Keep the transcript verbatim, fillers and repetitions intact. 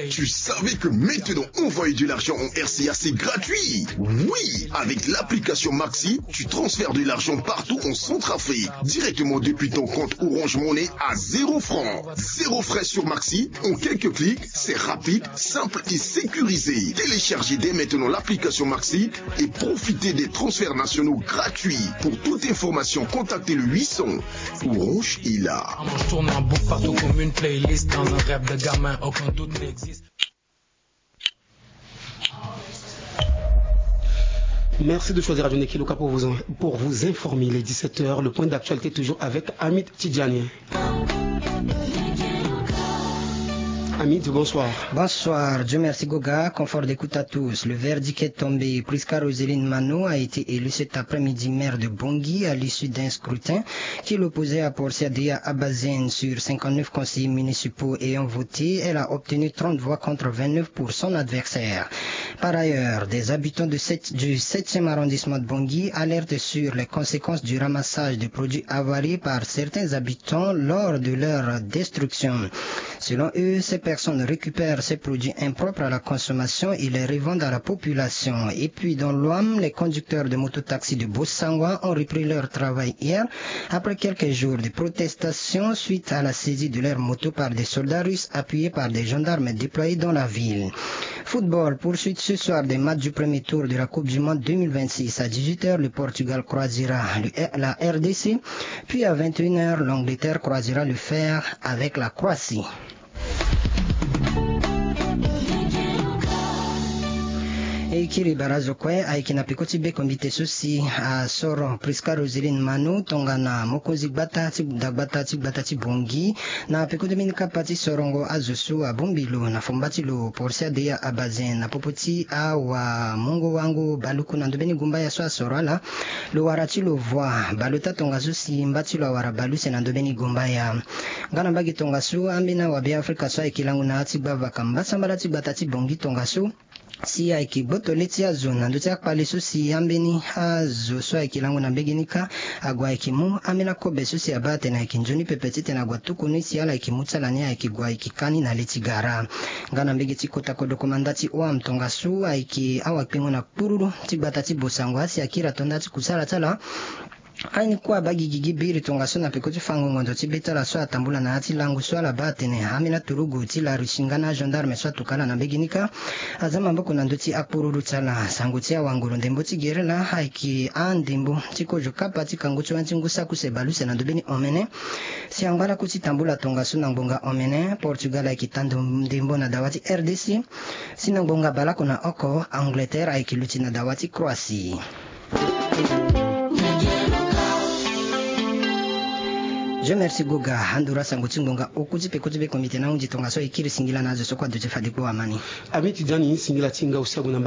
Tu savais que maintenant envoyer de l'argent en R C A, c'est gratuit ? Oui, avec l'application Maxi, tu transfères de l'argent partout en Centrafrique, directement depuis ton compte Orange Money à zéro franc. Zéro frais sur Maxi, en quelques clics, c'est rapide, simple et sécurisé. Téléchargez dès maintenant l'application Maxi et profitez des transferts nationaux gratuits. Pour toute information, contactez le huit cents. Orange est là. Je tourne en boucle partout comme une playlist dans un rêve de gamin, aucun doute n'existe. Merci de choisir Radio Nekiluka pour vous, pour vous informer. Il est dix-sept heures, le point d'actualité toujours avec Hamid Tidjani. Hamid, bonsoir. Bonsoir, Dieu merci Goga, confort d'écoute à tous. Le verdict est tombé. Prisca Roseline Mano a été élue cet après-midi maire de Bangui à l'issue d'un scrutin qui l'opposait à Portia Deya Abazen. Sur cinquante-neuf conseillers municipaux ayant voté, elle a obtenu trente voix contre vingt-neuf pour son adversaire. Par ailleurs, des habitants de sept, du septième arrondissement de Bangui alertent sur les conséquences du ramassage de produits avariés par certains habitants lors de leur destruction. Selon eux, ces personnes récupèrent ces produits impropres à la consommation et les revendent à la population. Et puis dans l'Ouham, les conducteurs de mototaxi de Bossangwa ont repris leur travail hier après quelques jours de protestation suite à la saisie de leur moto par des soldats russes appuyés par des gendarmes déployés dans la ville. Football, poursuite ce soir des matchs du premier tour de la Coupe du Monde deux mille vingt-six. À dix-huit heures, le Portugal croisera le, la R D C, puis à vingt et une heures, l'Angleterre croisera le fer avec la Croatie. E kiri barazo kue ayeke na peko ti bekombite so si asoro Prisca Roseline Mano tongana mokonzi gbata ti dagbata ti gbata ti Bangui na peko ti mbeni kapa ti sorongo azo so abongbi lo na fomba ti lo Portia Deya Abazen na popo ti awamungo-wango Baluku na ndo mbeni gumbaya so asoro ala. Lo wara ti lo voi baleota tongaso si mba ti lo awara baleuse na ndo mbeni gumbaya. Nga na mbage tongaso ambeni awabe Afrika so ayeke lango na ya ti gbavaka mbasambala ti gbata ti Bangui tongaso si ayeke gboto le ti azo na ndö ti akpale so si ambeni azo so ayeke lango na mbege ni kâ ague ayeke mu ambeni akobe so si abaa atene ayeke nzoni pepe titene ague atuku ni si ala yeke mu ti ala ni ayeke gue ayeke kâ ni na le ti gara. Nga na mbege ti kota kodro komanda ti Ouham tongaso ayeke awakpengo na kpururu ti gbata ti Bossangwa si akiri ato nda ti kusala ti ala. Aye ni kue abaa gigigi biri tongaso na peko ti fango ngondo ti be ti ala so atambula na ya ti lango so ala baa atene ambeni aturugu ti la Russie nga na agendarme so atuka ala na mbege ni kâ aza maboko na ndö ti akpururu ti ala. Sango ti awanguru ndembo ti gere laa ayeke andembo ti kozo kapa ti kangu ti wani ti ngu saki use baleuse na ndo mbeni omene. Si angba lakue ti tambula tongaso na ngbonga omene Portugal ayeke tando ndembo na dawa ti R D C. Si na ngbonga baleoko na oko Angleterre ayeke luti na dawa ti Croatie. Dieu merci Goga, anduru asango ti ngbonga oku ti peko ti bekombite na ahunzi tongaso e kiri singila na azo so kue aduti fade kpo amani. Ami ti dani singila ti nga aussi ague na mbage.